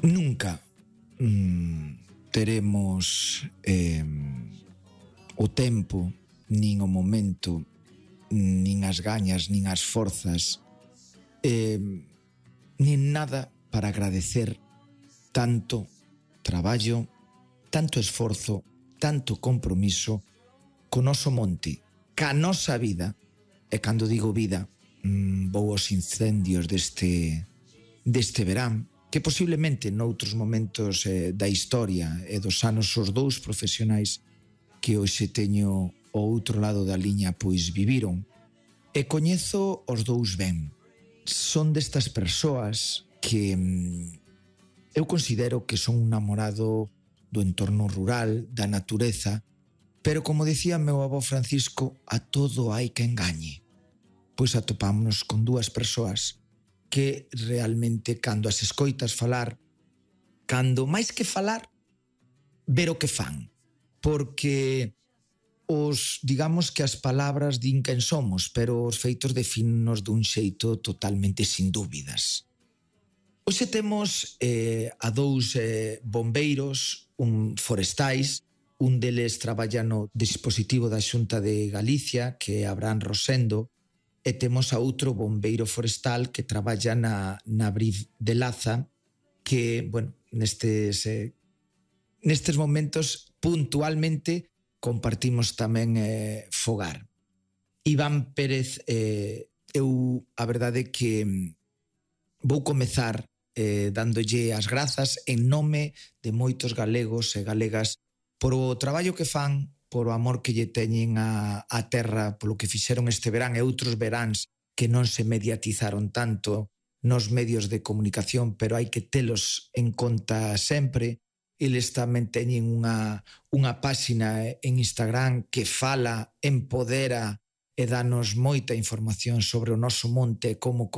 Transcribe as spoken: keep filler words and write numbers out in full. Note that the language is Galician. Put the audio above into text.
Nunca mm, teremos eh, o tempo, nin o momento, nin as gañas, nin as forzas, eh, nin nada para agradecer tanto traballo, tanto esforzo, tanto compromiso co noso monte, ca nosa vida. E cando digo vida, mmm, vou aos incendios deste, deste verán, que posiblemente noutros momentos eh, da historia e dos anos os dous profesionais que hoxe teño ao outro lado da liña pois viviron. E coñezo os dous ben. Son destas persoas que mm, eu considero que son un namorado do entorno rural, da natureza, pero como dicía meu avó Francisco, a todo hai que engañe. Pois atopámonos con dúas persoas que realmente cando as escoitas falar, cando máis que falar, ver o que fan. Porque os, digamos que as palabras din quen somos, pero os feitos defínennos dun xeito totalmente sin dúbidas. Hoxe temos eh, a dous eh, bombeiros, un forestais, un deles traballa no dispositivo da Xunta de Galicia, que é Abraham Rosendo, e temos a outro bombeiro forestal que traballa na, na Briz de Laza, que, bueno, nestes, eh, nestes momentos puntualmente compartimos tamén eh, fogar. Iván Pérez, eh, eu a verdade que vou comezar eh, dándolle as grazas en nome de moitos galegos e galegas por o traballo que fan, por o amor que lle teñen a, a terra, polo que fixeron este verán e outros veráns que non se mediatizaron tanto nos medios de comunicación, pero hai que telos en conta sempre. Eles tamén teñen unha, unha páxina en Instagram que fala, empodera e danos moita información sobre o noso monte e como